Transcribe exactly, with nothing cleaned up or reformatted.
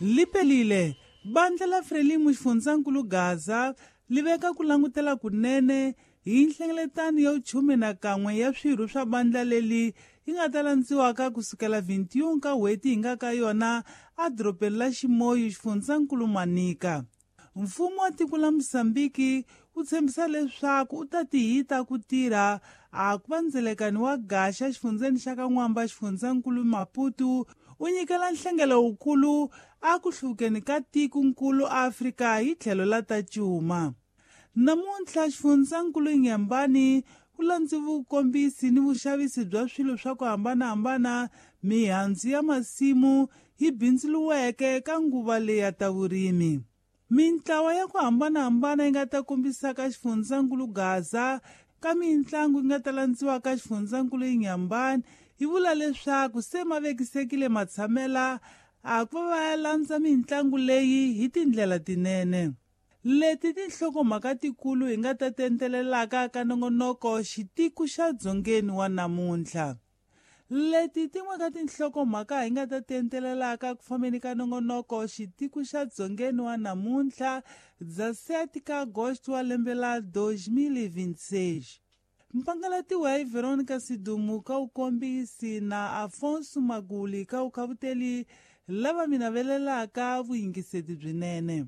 Lipelile bandla la Frelimo xifundzankulu Gaza li veka ku langutela kunene hi nhlengeletano ya vuchume na kan'we ya swirho swa bandla leli yi nga ta landziwaka kusukela vintiun ka n'hweti hi nga ka yona edorobeni la Ximoyo xifundzankulu Manica. Mfumo wa tiko la Mozambique wu tshembisa leswaku u ta tihita ku tirha a ku va ndzelekani wa gaxa xifundzeni xa ka N'wamba xifundzankulu Maputo u nyikela nhlengelo wukulu a ku hluvukeni ka tikonkulu Afrika hi tlhelo la ta cuma. Namuntlha xifundzankulu Inhambane ku landzi vukombisi ni vuxavisi bya swilo swa ku hambanahambana mihandzu ya masimu yi bindzuriweke ka nguva leyi ya ta vurimi. Mintlawa ya ku hambanahambana yi nga ta kombisaka xifundzankulu Gaza ka mintlangu yi nga ta landziwa ka xifundzankulu Inhambane yi vula leswaku se ma vekisekile matshamela a ku va va ya landza mintlangu leyi hi tindlela tinene. Leti tinhlokomhaka tikulu hi nga ta tentelelaka ka nongonoko xitiku xa dzongeni wa namuntlha. Leti tin'we ka tinhlokomhaka hi nga ta tentelelaka ku fambeni ka nongonoko xitiku xa dzongeni wa namuntlha dza sete ka agosto wa lembe la dois mil e vinte e seis. Mpangalatiwa hi Veronica Sidumu ka vukombisi na Afonso Maguli ka vukhavuteli lava mi navelelaka vuyingiseti byinene.